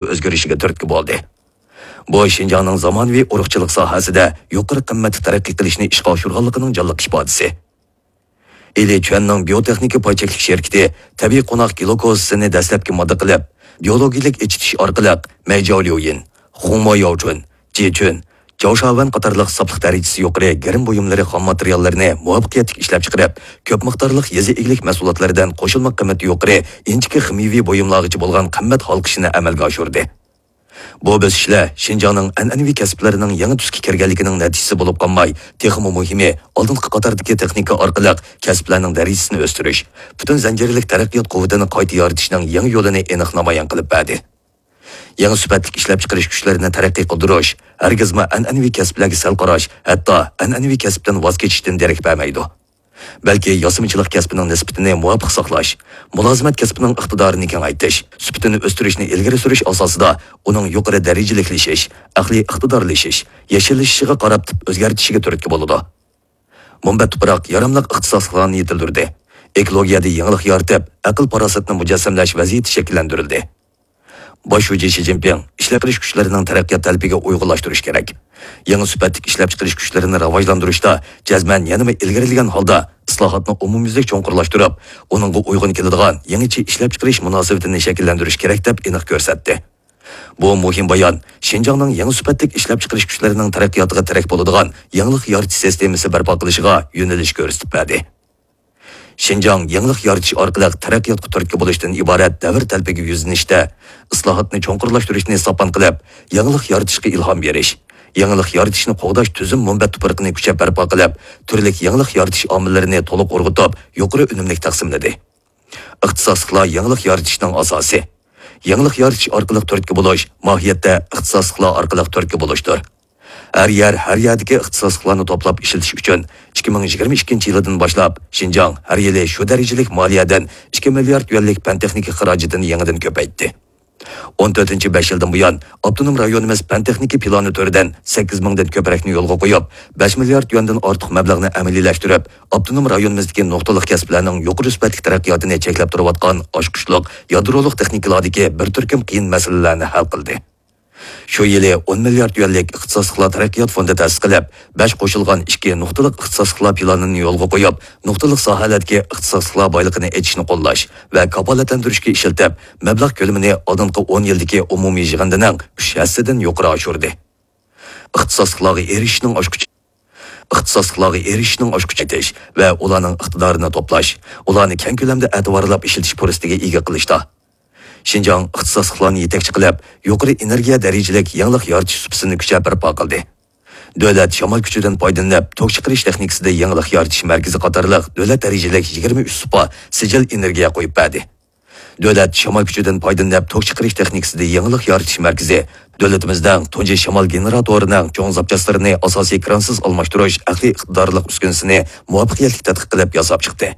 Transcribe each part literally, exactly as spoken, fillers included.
ئۆزگىرىشىگە تۈرتكە بولدى. بۇ شىنجاڭنىڭ زامانىۋى ئۇرۇقچىلىق ساھەسىدە يۇقىرى قىممەتتە تەرەققىي قىلىشنى ئىشقا ئاشۇرغانلىقىنىڭ جانلىق ئىپادىسى. ئىلى چۈەننىڭ بىيوتېخنىكا پاي چەكلىك شىركىتى تەبىئىي قوناق گلۇكوزىسىنى دەسلەپكى ماددا قىلىپ، بىيولوگىيەلىك ئېچىتىش ئارقىلىق مەيجاۋليۇيىن، خۇڭمو ياۋچۈن، جىچۈن، جاۋشاۋەن قاتارلىق ساپلىق دەرىجىسى يۇقىرى گىرىم بۇيۇملىرى خام ماتېرىياللىرىنى مۇۋەپپەقىيەتلىك ئىشلەپچىقىرىپ، كۆپ مىقدارلىق يېزا ئىگىلىك مەھسۇلاتلىرىدىن قوشۇلما قىممىتى يۇقىرى ئىنچىكە خىمىيەۋى بۇيۇملارغىچە بولغان قىممەت ھالقىشىنى ئەمەلگە ئاشۇردى. بۇ بۆسۈشلەر شىنجاڭنىڭ ئەنئەنىۋى كەسىپلىرىنىڭ يېڭى تۈسكە كىرگەنلىكىنىڭ نەتىجىسى بولۇپ قالماي، تېخىمۇ مۇھىمى، ئالدىنقى قاتاردىكى تېخنىكا ئارقىلىق كەسىپلەرنىڭ دەرىجىسىنى ئۆستۈرۈش، پۈتۈن زەنجىرلىك تەرەققىيات قۇۋۋىتىنى قايتا يارىتىشنىڭ يېڭى يولىنى ئېنىق نامايان قىلىپ بەردى. يېڭى سۈپەتلىك ئىشلەپچىقىرىش كۈچلىرىنى تەرەققىي قىلدۇرۇش ھەرگىزمۇ ئەنئەنىۋى كەسىپلەرگە سەل قاراش، ھەتتا ئەنئەنىۋى كەسىپتىن ۋاز كېچىشتىن دېرەك بەرمەيدۇ. بەلكى ياسىمىچىلىق كەسپىنىڭ نىسبىتىنى مۇۋاپىق ساقلاش، مۇلازىمەت كەسپىنىڭ ئىقتىدارىنى كېڭەيتىش، سۈپىتىنى ئۆستۈرۈشنى ئىلگىرى سۈرۈش ئاساسىدا ئۇنىڭ يۇقىرى دەرىجىلىكلىشىش، ئەقلىي ئىقتىدارلىشىش، يەشىللىشىشىغا قاراپ تىپ ئۆزگەرتىشىگە تۈرتكە بولىدۇ. مۇنبەت تۇپراق ياراملىق ئىختىساسلىقلارنى يېتىلدۈردى. ئېكولوگىيەدە يېڭىلىق يارىتىپ، ئەقىل-پاراسەتنى مۇجەسسەملەش ۋەزىيىتى شەكىللەندۈرۈلدى. باش شۇجى شى جىنپىڭ ئىشلەپچىقىرىش كۈچلىرىنىڭ تەرەققىيات تەلىپىگە ئۇيغۇنلاشتۇرۇش كېرەك. يېڭى سۈپەتلىك ئىشلەپچىقىرىش كۈچلىرىنى راۋاجلاندۇرۇشتا جەزمەن يەنىمۇ ئىلگىرىلىگەن ھالدا ئىسلاھاتنى ئومۇميۈزلۈك چوڭقۇرلاشتۇرۇپ، ئۇنىڭغا ئۇيغۇن كېلىدىغان يېڭىچە ئىشلەپچىقىرىش مۇناسىۋىتىنى شەكىللەندۈرۈش كېرەك، دەپ ئېنىق كۆرسەتتى. بۇ مۇھىم بايان شىنجاڭنىڭ يېڭى سۈپەتلىك ئىشلەپچىقىرىش كۈچلىرىنىڭ تەرەققىياتىغا تىرەك بولىدىغان يېڭىلىق يارىتىش سىستېمىسى بەرپا قىلىشىغا يۆنىلىش كۆرسىتىپ بەردى. شىنجاڭ يېڭىلىق يارىتىش ئارقىلىق تەرەققىياتقا تۈرتكە بولۇشتىن ئىبارەت دەۋر تەلىپىگە يۈزلىنىشتە، ئىسلاھاتنى چوڭقۇرلاشتۇرۇشنى ساپان قىلىپ، يېڭىلىق يارىتىشقا ئىلھام بېرىش، يېڭىلىق يارىتىشنى قوغداش تۈزۈم مۇنبەت تۇپرىقىنى كۈچەپ بەرپا قىلىپ، تۈرلۈك يېڭىلىق يارىتىش ئامىللىرىنى تولۇق ئۇرغۇتۇپ، يۇقىرى ئۈنۈملۈك تەقسىملىدى. ئىختىساسلىقلار يېڭىلىق يارىتىشنىڭ ئاساسى. يېڭىلىق يارىتىش ئارقىلىق تۈرتكە بولۇش ماھىيەتتە ئىختىساسلىقلار ئارقىلىق تۈرتكە بولۇشتۇر. ھەر يەر، ھەر يەردىكى ئىختىساسلىقلارنى توپلاپ ئىشلىتىش ئۈچۈن ئىككى مىڭ يىگىرمە ئىككىنچى يىلىدىن باشلاپ شىنجاڭ ھەر يىلى شۇ دەرىجىلىك مالىيەدىن ئىككى مىليارد يۈەنلىك پەن تېخنىكا خىراجىتىنى يېڭىدىن كۆپەيتتى. ئون تۆتىنچى بەش يىلدىن بۇيان، ئاپتونوم رايونىمىز پەن تېخنىكا پىلانى تۈرىدىن سەككىز مىڭدىن كۆپرەكنى يولغا قويۇپ، بەش مىليارد يۈەندىن ئارتۇق مەبلەغنى ئەمەلىيلەشتۈرۈپ، ئاپتونوم رايونىمىزدىكى نۇقتىلىق كەسىپلەرنىڭ يۇقىرى سۈپەتلىك تەرەققىياتىنى چەكلەپ تۇرۇۋاتقان ئاچقۇچلۇق يادرولۇق تېخنىكىلاردىكى بىر تۈركۈم قىيىن مەسىلىلەرنى ھەل قىلدى. شۇ يىلى ئون مىليارد يۈەنلىك ئىختىساسلىقلار تەرەققىيات فوندى تەسىس قىلىپ، بەش قوشۇلغان ئىككى نۇقتىلىق ئىختىساسلىقلار پىلانىنى يولغا قويۇپ، نۇقتىلىق ساھەلەردىكى ئىختىساسلىقلار بايلىقىنى ئېچىشنى قوللاش ۋە كاپالەتلەندۈرۈشكە ئىشلىتىپ، مەبلەغ كۆلىمىنى ئالدىنقى ئون يىلدىكى ئومۇمىي يىغىندىنىڭ ئۈچ ھەسسىدىن يۇقىرى ئاشۇردى. ئىختىساسلىقلارغا ئېرىشىشنىڭ ئاچقۇچى. ئىختىساسلىقلارغا ئېرىشىشنىڭ ئاچقۇچى ئېتىش ۋە ئۇلارنىڭ ئىقتىدارىنى توپلاش، ئۇلارنى كەڭ كۆلەمدە ئەتىۋارلاپ ئىشلىتىش پۇرسىتىگە ئىگە قىلىشتا. شىنجاڭ ئىختىساسلىقلارنى يېتەكچى قىلىپ، يۇقىرى ئېنېرگىيە دەرىجىلىك يېڭىلىق يارىتىش سۇپىسىنى كۈچەپ بەرپا قىلدى. دۆلەت شامال كۈچىدىن پايدىلىنىپ، توك چىقىرىش تېخنىكىسىدا يېڭىلىق يارىتىش مەركىزى قاتارلىق دۆلەت دەرىجىلىك يىگىرمە ئۈچ سۇپا سىجىل ئېنېرگىيە قويۇپ بەردى. دۆلەت شامال كۈچىدىن پايدىلىنىپ توك چىقىرىش تېخنىكىسىدا يېڭىلىق يارىتىش مەركىزى دۆلىتىمىزنىڭ تۇنجى شامال گېنېراتورىنىڭ چوڭ زاپچاسلىرىنى ئاساسىي كرانسىز ئالماشتۇرۇش ئەقلىي ئىقتىدارلىق ئۈسكۈنىسىنى مۇۋەپپەقىيەتلىك تەتقىق قىلىپ ياساپ چىقتى.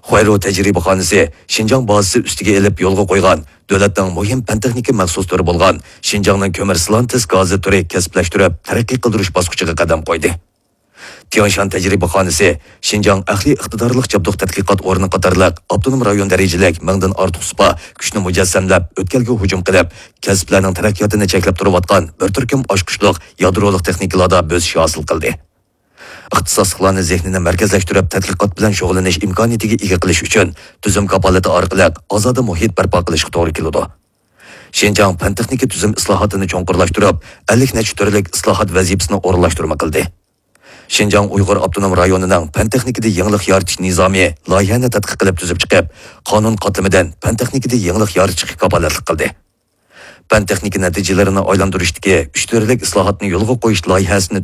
خۇەيرۇ تەجرىبىخانىسى شىنجاڭ بازىسى ئۈستىگە ئېلىپ يولغا قويغان دۆلەتنىڭ مۇھىم پەن تېخنىكا مەخسۇس تۈرى بولغان شىنجاڭنىڭ كۆمۈر سىلانتېس گازى تۈرى كەسىپلەشتۈرۈپ تەرەققىي قىلدۇرۇش باسقۇچىغا قەدەم قويدى. تياڭشان تەجرىبىخانىسى شىنجاڭ ئەقلىي ئىقتىدارلىق جابدۇق تەتقىقات ئورنى قاتارلىق ئاپتونوم رايون دەرىجىلىك مىڭدىن ئارتۇق سۇپا كۈچنى مۇجەسسەملەپ، ئۆتكەلگە ھۇجۇم قىلىپ، كەسىپلەرنىڭ تەرەققىياتىنى چەكلەپ تۇرۇۋاتقان بىر تۈركۈم ئاچقۇچلۇق يادرولۇق تېخنىكىلاردا بۆسۈش ھاسىل قىلدى. ئىختىساسلىقلارنى زېھنىنى مەركەزلەشتۈرۈپ، تەتقىقات بىلەن شۇغۇللىنىش ئىمكانىيىتىگە ئىگە قىلىش ئۈچۈن تۈزۈم كاپالىتى ئارقىلىق ئازادە مۇھىت بەرپا قىلىشقا توغرا كېلىدۇ. شىنجاڭ پەن تېخنىكا تۈزۈم ئىسلاھاتىنى چوڭقۇرلاشتۇرۇپ، ئەللىك نەچچە تۈرلۈك ئىسلاھات ۋەزىپىسىنى ئورۇنلاشتۇرما قىلدى. شىنجاڭ ئۇيغۇر ئاپتونوم رايونىنىڭ پەن تېخنىكىدا يېڭىلىق يارىتىش نىزامى لايىھەنى تەتقىق قىلىپ تۈزۈپ چىقىپ، قانۇن قاتلىمىدىن پەن تېخنىكىدا يېڭىلىق يارىتىشقا كاپالەتلىك قىلدى. پەن تېخنىكا نەتىجىلىرىنى ئايلاندۇرۇشتىكى ئۈچ تۈرلۈك ئىسلاھاتنى يولغا قويۇش لايىھەسىنى